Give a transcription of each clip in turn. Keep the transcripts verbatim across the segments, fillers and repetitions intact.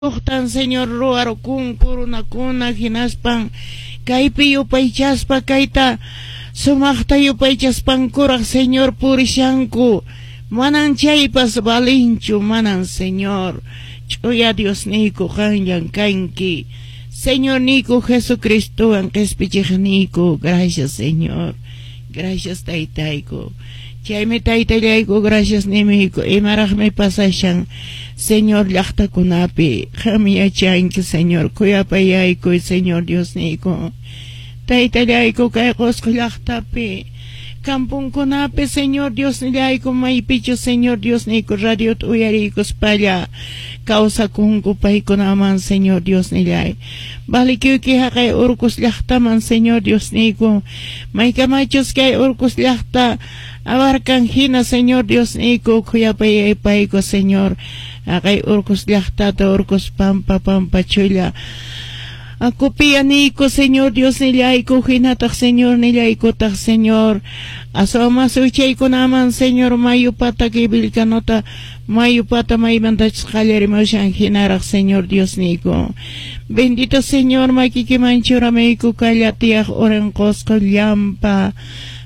Uqtan Señor ruwarukunku runakuna hinaspan kaypi yupaychaspa kayta sumaqta yupaychaspankuraq Señor purishanku manan chaypas valinchu manan Señor ch'uya Diosniyku qanllan kanki Señorniyku Jesucristowan qispichiqniyku. Gracias, Señor, gracias, Taytayku. Chaymi Taytallayku gracias nimiyku. Imaraqmi pasashan Señor llaqtakunapi qam yachanki Señor khuyapayaykuy Señor Diosniyku Taytallayku kay Qusqu llaqtapi kampunkunapi Señor Diosnillayku maypichu Señor Diosniyku radiota uyariykuspalla kawsakunku paykunaman Señor Diosnillay valikuyki haqay Urcos llaqtaman Señor Diosniyku maykamachus kay Urcos llaqta abarcan hina Señor Diosniyku khuyapayaypayku Señor haqay Urcos llaqtata Urcos pampa pampa chulla Akupiyaniyku Señor Diosnillayku hinataq Señor nillaykutaq Señor aswamas wichaykunaman Señor mayu pata kay Vilcanota mayu pata maymantachus qallarimushan hinaraq Señor Diosniyku. Bendito Señor makikiman churamiyku kallatiyaq urin Qusqu llampa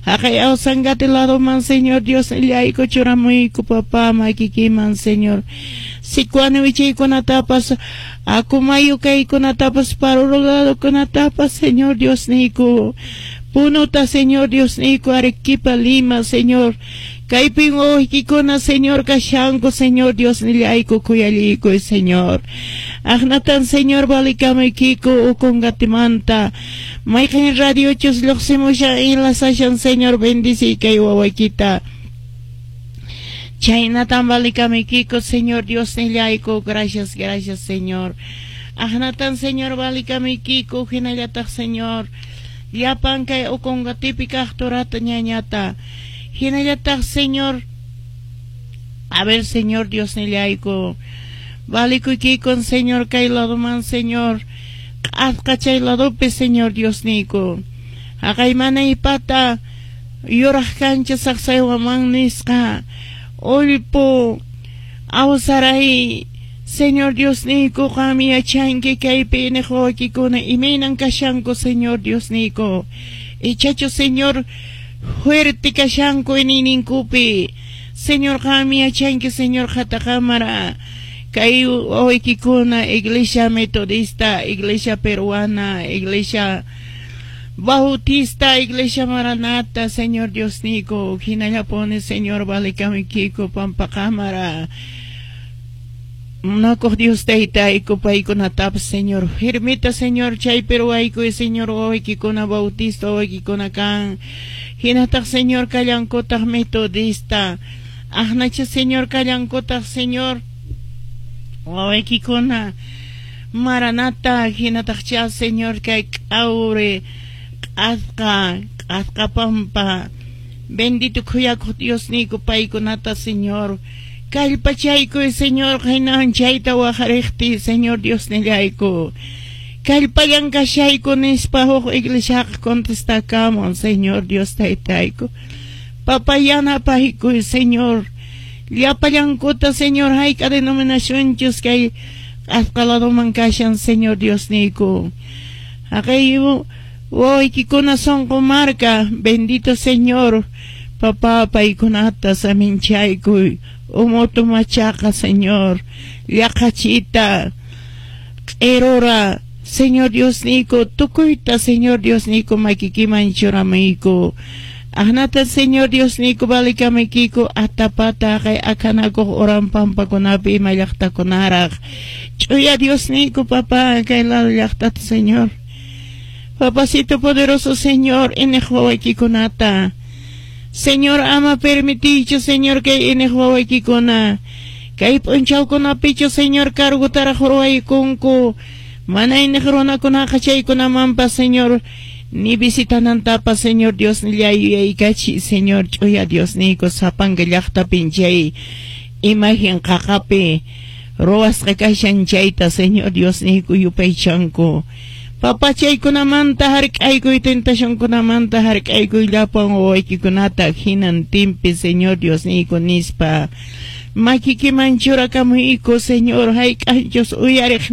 haqay Ausangate ladoman Señor Diosnillayku churamuyku papá makikiman Señor Sicuani wichaykunatapas Acomayo kaykunatapas Paruro ladokunatapas Señor Diosniyku Punuta Señor Diosniyku Arequipa Lima Señor kaypin wawaykikuna Señor kashanku Señor Diosnillayku khuyallaykuy Señor Aqnatan Señor valikamaykiku Ocongatemanta mayqin radiochus lluqsimushan enlazashan Señor bendiciy kay wawaykita Chaynatan valikamaykiku Señor Diosnillayku gracias gracias Señor Aqnatan Señor valikamaykiku hinallataq Señor llapan kay Ocongatipi kaq turata ñañata hinallataq Señor a ver Señor Diosnillayku valikuykikun Señor kay ladoman Señor q'asqa chay ladopi Señor Diosniyku haqay manaypata yuraq kancha saqsaywaman nisqa Ullpu awsaray Señor Diosniyku qam yachanki kaypi iniq wawaykikuna imaynan kashanku Señor Diosniyku ichachu Señor fuerte kashanku iñiyninkupi Señor qam yachanki Señor qhataqamara kay wawaykikuna Iglesia Metodista, Iglesia Peruana, Iglesia Bautista, Iglesia Maranata, Señor Diosniyku hinallapuni Señor valikamuykiku pampaqamara munakuq Dios Taytayku paykunatapas Señor firmita Señor chaypi ruwaykuy Señor wawaykikuna Bautista wawaykikuna kan hinataq Señor kallankutaq Metodista aqnacha Señor kallankutaq Señor wawaykikuna Maranata hinataqcha Señor kay k'awri q'asqa q'asqa pampa bendito khuyakuq Diosniyku paykunata Señor kallpachaykuy Señor hinan chayta waqariqtiy Señor Diosnillayku kallpallan kashayku nispa huk iglesiaqa contestakamun Señor Dios Taytayku Papá yanapaykuy Señor llapallankuta Señor hayk'a denominacionchus kay q'asqa ladoman kashan Señor Diosniyku haqay wawaykikuna sunqu marka bendito Señor papá paykunata saminchaykuy umutu machaqa Señor llaqachita q'irura Señor Diosniyku tukuyta Señor Diosniyku makikiman churamuyku aqnata Señor Diosniyku valikamaykiku atapata haqay akanakuq uran pampakunapi ima llaqtakunaraq ch'uya Diosniyku papá kay lado llaqtata Señor Papacito poderoso Señor iniq wawaykikunata Señor ama permitichu Señor kay iniq wawaykikuna kay p'unchawkunapichu Señor cargutaraq ruwaykunku mana iniq runakunaqa chaykunamanpas Señor ni visitanantapas Señor Diosnillay yuyaykachiy Señor ch'uya Diosniyku sapanka llaqtapin chay imagen qaqapi ruwasqa kashan chayta Señor Diosniyku yupaychanku Papá chaykunamanta hark'aykuy tentacionkunamanta hark'aykuy llapan wawaykikunata hinantinpi Señor Diosniyku nispa Makikiman churakamuyku, Señor, hayk'anchus uyariq